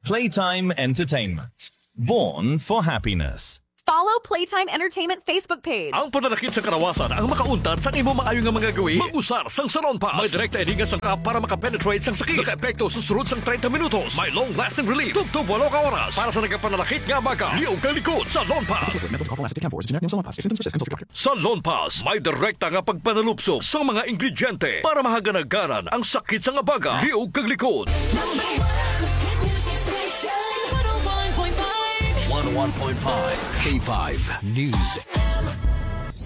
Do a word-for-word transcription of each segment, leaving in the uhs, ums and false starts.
Playtime Entertainment. Born for happiness. Follow Playtime Entertainment Facebook page. Ang pananakit sa kalawasan ang makauntat sa imo maayo nga mga gawi. Mag-usar sang Salon Pass. May direkta ini nga sangkap para makapenetrate sang sakit. Nakaepekto sa sulod sang treinta minutos. May long-lasting relief. Tubtob walo ka oras. Para sa nagapananakit nga baga, liog kag likod, Salon Pass. Associated with Mental Health Lancet Decamfor is a generic name of Salon Pass. If symptoms persist, consult your doctor. Sa Lonpas, may direkta nga pagpanalupsok sa mga ingrediente para mahaganaganan ang sakit sa nga baga, liog kag likod. Number one hit music station, one oh one point five. One oh one point five K five News.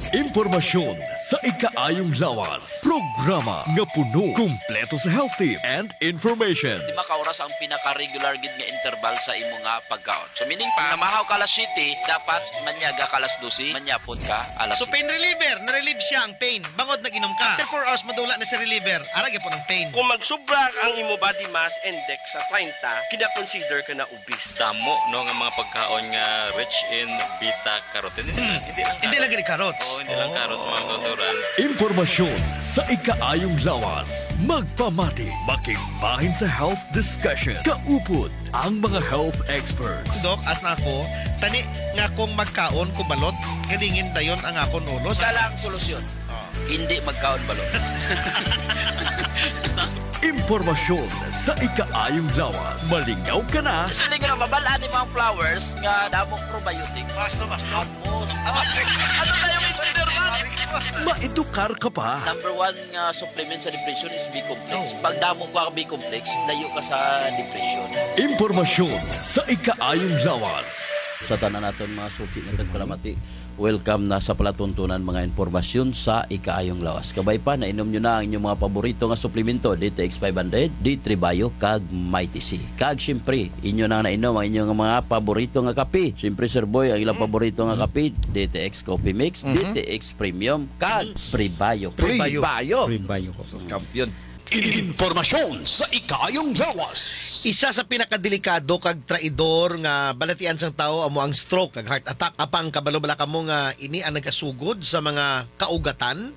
Impormasyon sa ikaayong lawas. Programa nga puno, kumpleto sa health tips and information. Lima ka oras ang pinaka-regular gid nga interval sa imo nga pagkaon. So, meaning pa, namahaw ka alas siyete, dapat manyaga ka alas dose, manyapon ka alas So, siyete. Pain reliever, na-relieve siya ang pain. Bangod nag-inom ka. After four hours, madula na si reliever. Ara gyapon ang pain. Kung magsubra ang imo body mass index sa treinta, kina-consider ka na obese. Damo, no, nga mga pagkaon nga rich in beta carotene. Hindi lang Hindi lang carrots. Gani carrots. Oo, hindi lang carrots, mga kauturan. Impormasyon sa ikaayong lawas. Magpamati, makigbahin sa health discussion. Kaupod ang mga health experts. Doc, as na ako, tani nga kung magkaon ko balot, galingin dayon ang akon ulo. Isa lang solusyon. Oh. Hindi magkaon balot. Impormasyon sa ikaayong lawas. Malingaw ka na. Siling nga mabal-an ni mga flowers nga damong probiotic. Basta, basta. Amo. Ano na yung engineer man? Maedukar ka pa. Number one nga supplement sa depression is B complex. Oh. Pag damo ka B complex, layo ka sa depression. Impormasyon sa ikaayong lawas. Sa tanan naton mga suki nga tagpalamati, welcome na sa palatuntunan mga impormasyon sa ikaayong lawas. Kabay pa, nainom nyo na ang inyong mga paborito nga suplemento, D T X five hundred, D three Bio, kag Mighty C. Kag siyempre, inyo na nainom ang inyong mga paborito nga kape. Siyempre, Sir Boy, ang ilang Mm. paborito nga Mm. kape, D T X Coffee Mix, Mhm. D T X Premium, kag Prebio. Prebio. Prebio. Prebio ko. Champion. Impormasyon sa ikaayong lawas. Isa sa pinakadelikado kag traidor nga balatian sang tawo amo ang stroke kag heart attack. Apang kabalo bala kamo nga ini ang nagasugod sa mga kaugatan?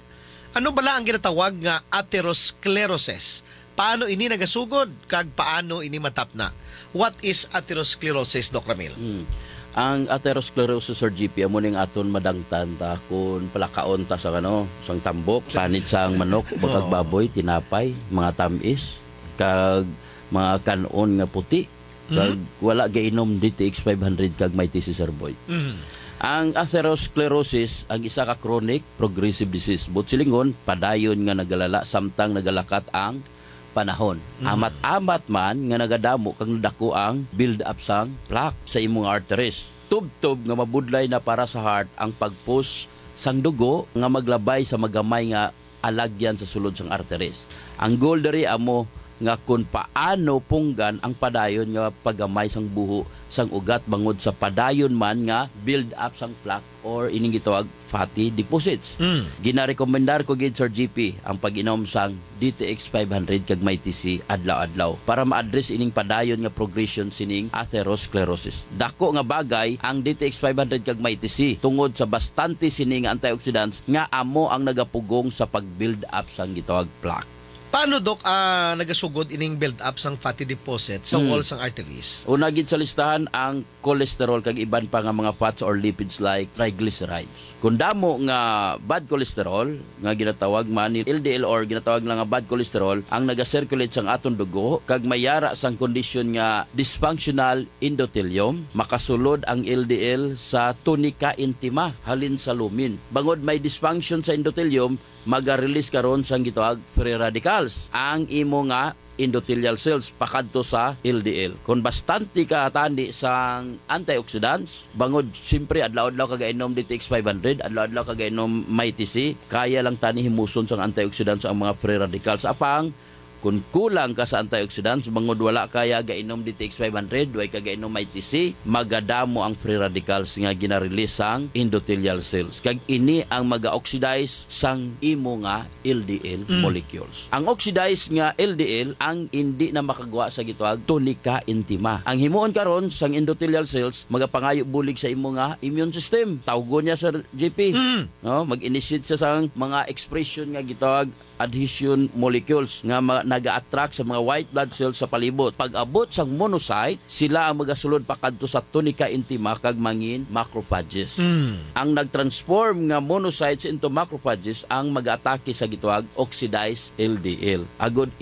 Ano bala ang ginatawag nga atherosclerosis? Paano ini nagasugod kag paano ini matapna? What is atherosclerosis, Doc Ramil? Hmm. Ang atherosclerosis, Sir G P, amo ning aton madangtan ta kung palakaon ta sang, ano, sang tambok, panit sang manok, bakag Oo. baboy, tinapay, mga tamis, kag mga kan-on nga puti, kag Mhm. wala gainom D T X five hundred kag Mighty C, Sir Boy. Mhm. Ang atherosclerosis, ang isa ka chronic progressive disease. Buot silingon, padayon nga nagalala samtang nagalakat ang panahon. Mhm. Amat-amat man nga nagadamo kag nadako ang build-up sang plaque sa imong arteries. Tubtob nga mabudlay na para sa heart ang pag-push sang dugo nga maglabay sa magamay nga alagyan sa sulod sang arteries. Ang goal diri amo nga kung paano punggan ang padayon nga paggamay sang buho sang ugat bangod sa padayon man nga build-up sang plaque or ining gitawag fatty deposits. Mm. Ginarekomendar ko gid, Sir G P, ang pag-inom sang D T X five hundred kag Mighty C adlaw-adlaw para ma-address ining padayon nga progression sining atherosclerosis. Dako nga bagay ang D T X five hundred kag Mighty C tungod sa bastante sini nga antioxidants nga amo ang nagapugong sa pag-build up sang gitawag plaque. Paano, Doc, ah, nagasugod ining build up sang fatty deposit sa Hmm. wall sang arteries? Una gid sa listahan ang cholesterol kag iban pa nga mga fats or lipids like triglycerides. Kung damo nga bad cholesterol, nga ginatawag man ni L D L or ginatawag lang nga bad cholesterol, ang naga-circulate sang aton dugo, kag may yara sang kondisyon nga dysfunctional endothelium, makasulod ang L D L sa tunica intima halin sa lumen. Bangod may dysfunction sa endothelium, maga-release karon sang gitawag free radicals ang imo nga endothelial cells pakadto sa L D L. Kung bastante ka tani sang antioxidants, bangod siyempre adlaw-adlaw ka gainom D T X five hundred, adlaw-adlaw ka gainom Mighty C, kaya lang tani himuson sang antioxidants ang mga free radicals. Apang, kung kulang ka sa antioxidants, bangod wala kaya gainom D T X five hundred, way ka gainom Mighty C, magadamo ang free radicals nga gina-release sang endothelial cells. Kag ini ang maga-oxidize sang imo nga L D L Mm. molecules. Ang oxidized nga L D L ang indi na makagwa sa gitawag tunica intima. Ang himuon karon sang endothelial cells magapangayo bulig sa imo nga immune system. Tawgon niya, Sir G P. Mm. No, mag-initiate siya sang mga expression nga gitawag adhesion molecules nga ma-, naga-attract sa mga white blood cells sa palibot. Pag-abot sang monocyte, sila ang magasulod pa kadto sa tunica intima kag mangin macrophages. Mm. Ang nag-transform nga monocytes into macrophages ang mag-atake sa gitawag oxidized L D L. Agod